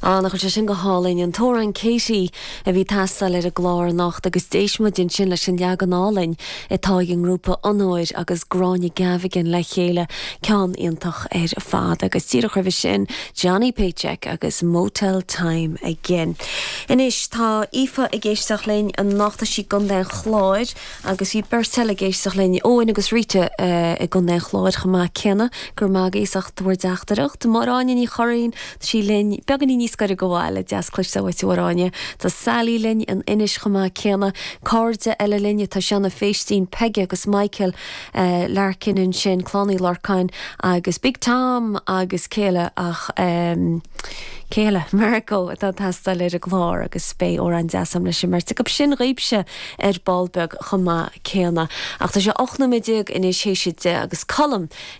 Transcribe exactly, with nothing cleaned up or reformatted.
Á nach sé sin go hálainn an t-amhrán Katie a bhí teastáil ar an gclár anocht agus d'éist muid ansin leis an leagan álainn atá ag an ngrúpa Onóir agus Gráinne Gavigan le chéile ceann iontach ar fad agus díreach roimhe sin Johnny Paycheck agus Motel Time Again. Anois tá Aoife ag éisteacht linn anocht sí i gContae an Chláir agus bhí beirt eile ag éisteacht linn Eoin agus Rita uh, i gContae an Chláir chomh maith céanna gur mágéiseach bhur dteachtaireacht Máráine ní choín sí linn beagáinín níos gaire go bhfuil deas cloiste uait Tá Sally linn in Inis chomh maith céanna cairde eile linn tá Seana Féistín Peige agus Michael uh, Larkin ansin Clann Uí Lorcáin agus Big Tom agus céile ach um, céile Marco atá teastáil ar an gclár agus beidh amhrán deas agam leis an mbeirt acu sin daoibhse ar ball beag chomh maith céanna. Ach tá sé ocht nóiméad déag anois théis a deich agus Colm